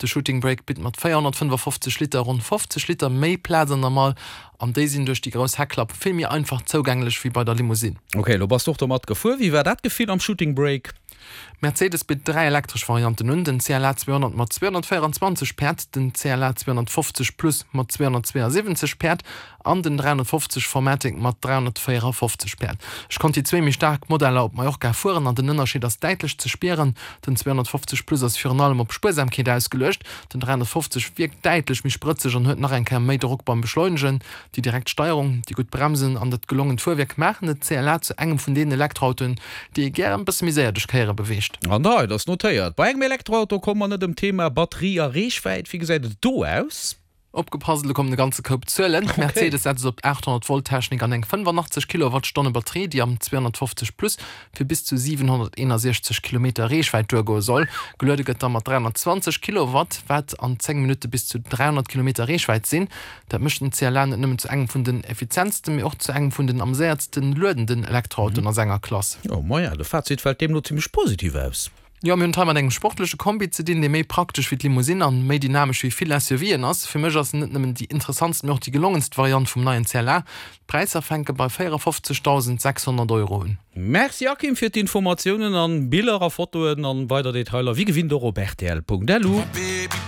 De Shooting Brake bitt mat 455 Liter ronn 50 Liter méi Plaz an der Mall an déi sinn duerch déi grouss Heckklapp vill méi einfach zougänglech wéi bei der Limousine. Ok, elo bass de och domat gefuer. Wéi war dat Gefill am Shooting Brake? Mercedes bitt 3 elektresch Varianten un, den CLA 200 mat 224 Päerd, den CLA 250 Plus mat 272 Päerd an den 350 4MATIC mat 354 Päerd. Ech konnt déi zwéi méi staark Modeller op Mallorca fueren an den Ënnerscheed ass däitlech ze spieren. Den 250 Plus ass virun allem op Spuersamkeet ausgeluecht, den 350 wierkt däitlech méi sprëtzeg an huet nach eng Kéier méi Drock beim Beschleunegen. Déi direkt Steierung, déi gutt Bremsen an dat gelongent Fuerwierk maachen den CLA zu engem vun deenen Elektroautoen, déi ee gären bësse méi séier duerch Kéiere beweegt. An da, et ass notéiert, bei engem Elektroauto komme mer net ëm d'Thema Batterie a Reechwäit. Wéi gesäit et do aus? Opgepasst, elo kommen e ganze Koup Zuelen. Mercedes setzt op 800 Volt Technik an eng 85 Kilowattstonne Batterie, déi am 250 Plus fir bis zu 761 Kilometer Reechwäit duergoe soll. Geluede gëtt da mat 320 Kilowatt, wat an 10 Minutte bis zu 300 Kilometer Reechwäit sinn. Dat mécht den CLA net nëmmen zu engem vun den effizientsten, mee och zu engem vun den am séiertsten luedenden Elektroautoen a senger Klass. Oh maja, de Fazit fält deemno zimmlech positiv aus. Jo, mir hunn et hei mat engem sportleche Kombi ze dinn, dee méi praktesch wéi d'Limousine an méi dynamesch wéi vill SUVen ass. Fir mech ass en net nëmmen déi interessantst, mee och déi gelongenst Variant vum neien CLA. D'Präisser fänke bei 54.600 Euro un. Merci Akim fir d'Informatiounen an Biller a Fotoen an weider Detailer wéi gewinnt och op rtl.lu.